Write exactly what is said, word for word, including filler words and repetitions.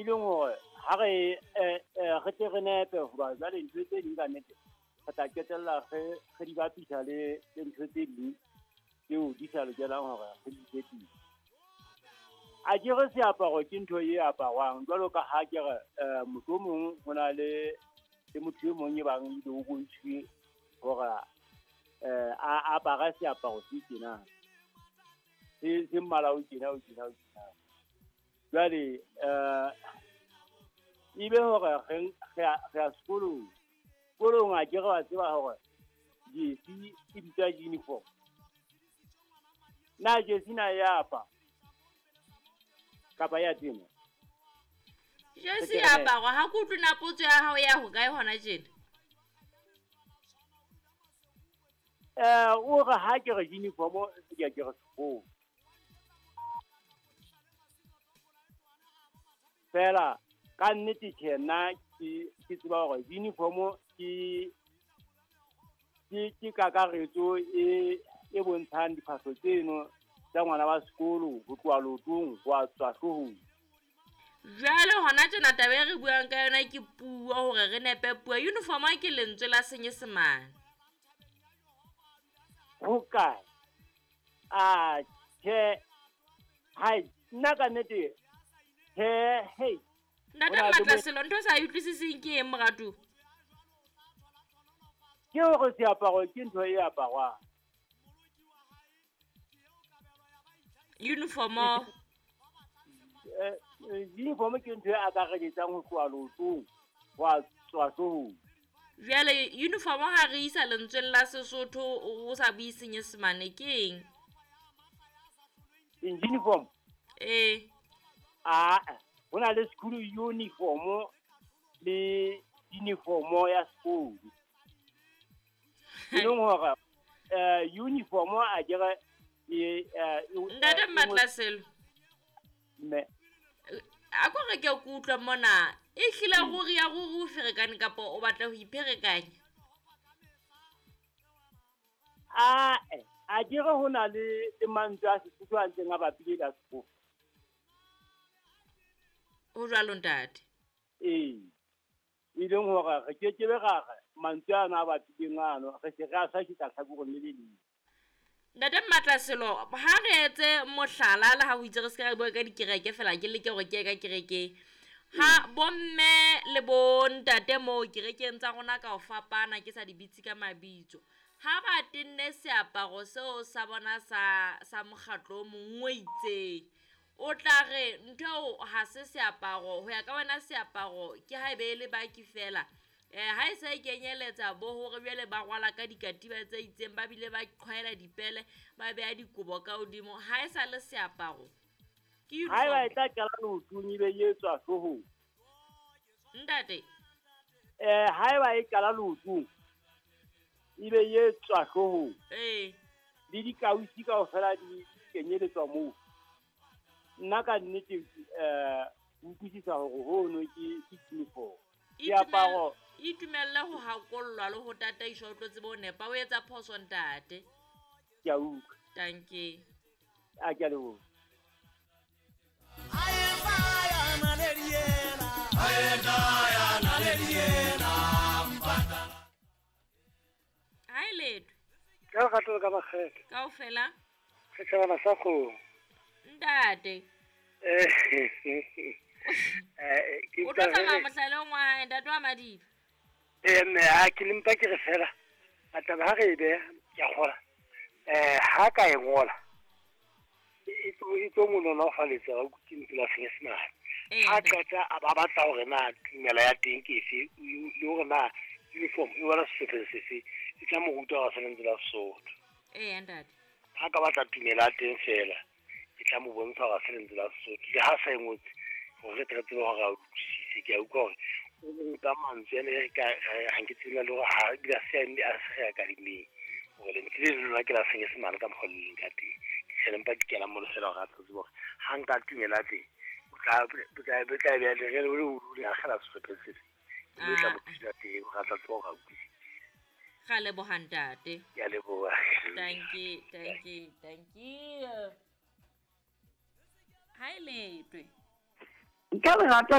E leng hore ha re re tle re nepe hoba jwale ntho tse ding ka nnete re tla qetella re re di bapisa le le ntho tse ding tseo di sa lokelang hore re di etsise. A ke re seaparo ke ntho e aparwang jwalo ka ha ke re mohlomong ho na le le motho e mong e bang ebile o bontshitswe hore a apara seaparo se tjena se se mmala o tjena o tjena o tjena. Jwale ebe hore re re ya sekolong, sekolong a ke re wa tseba hore jersey e bitswa uniform. Na jersey na ya apa kapa ya tena? Jersey ya aparwa ha ke utlwe na potso ya hao ya hokae hona tjena? Eh o re ha ke re uniform ke ke re sekolo. Fela ka nnete tjhe nna ke ke tseba hore uniform ke ke ke kakaretso e e bontshang diphahlo tseno tsa ngwana wa sekolo ho tloha leotong ho a tswa hloohong. Jwale hona tjena taba e re buang ka yona ke puo hore re nepe puo. Uniform ke lentswe la Senyesemane. Ho kae? A tjhe hai nna ka nnete he hey. Ntate Matlaselo ntho sa utlwisiseng ke eng moratu? Ke hore seaparo ke ntho e aparwang. Uniform eh uniform ke ntho e akaretsang ho tloha leotong ho a tswa hloohong. Jwale uniform ha re isa lentsweng la Sesotho o sa bue Senyesemane ke eng? Uniform? Eh. Ah, ho na le school uniform le uniform ya sekolo. E leng hore eh uniform a ke re Ntate Matlaselo. Mme a ko re ke o utlwa mona e hlile ruri ya ruri o ferekane kapa o batla ho ipherekanya? A a ke re ho na le le mantswe a Sesotho a ntseng a bapile le a sekolo. Ho jwalo ntate. Ee. E leng hore re ke ke be ra re mantswe ana a bapileng ano re se re a hlakisa hlakoreng le le leng. Ntate Matlaselo ha re etse mohlala le ha o itse re se ka bua ka dikereke fela ke leke hore ke ye ka kerekeng. Ha bomme le bontate moo kerekeng tsa rona ka ho fapana ke sa di bitse ka mabitso. Ha ba tenne seaparo seo sa bona sa sa mokgatlo o mong o itseng. O tla re ntho eo ha se seaparo ho ya ka wena seaparo ke ha ebe le baki fela. Eh ha e se e kenyeletsa bo hore jwale ba rwala ka dikatiba tse itseng ba bile ba qhwaela dipele ba beha dikobo ka hodimo ha e sa le seaparo. Ke uniform. Haeba e tla qala leotong ebe e tswa hloohong. Ntate. Eh haeba e qala leotong ebe e tswa hloohong. Eh. Le dikausi kaofela di kenyeletswa moo. Nna ka nnete eh utlwisisa hore hono ke ke uniform. Diaparo itumella ho hakollwa le ho tataiswa o tlo tsebe ho nepa o etsa phoso ntate. Ke a utlwa. Dankie. A ke a leboha. Hai letho. Ka lerato le ka makgethe. Kaofela. Setjhabana sa kgomo. Ntate. Eh eh ke o tlo tsamaya mohlaleng wa hae ntate wa Madiba. Eh mme ha ke le mpa ke re fela a taba ha re e beha ke a kgola eh ha ka e ngola e tlo e tlo mo nolofaletsa wa ke ntlo la Senyesemane. Ha qeta a ba batla hore na tumelo ya teng ke efe le hore na uniform e wela sehlopheng sefe e tla mo ruta hore se lentswe la Sesotho. Eh ntate. Ha ka batla tumelo ya teng fela e tla mo bontsha hore se lentswe la Sesotho le ha sa e ngotse hore re tle re tsebe hore a utlwisise. Ke a utlwa hore o nka mantswe ane ka ha nke tsebe le hore ha ebile a se a se akademeng hore lentswe le lona ke la Senyesemane ka mokgwa le leng ka teng. Ke tjhe le mpa ke kena mo fela hore a tlo tsebe hore ha nka tumelo ya teng o tla o tla o tla be le re le o le akgela sehlopheng sefe mme tla mo thusa teng hore a tla tseba hore a utlwisise. Ra leboha ntate. Ke a leboha. Thank you, thank you, thank you. Hai letwe. Ka lerato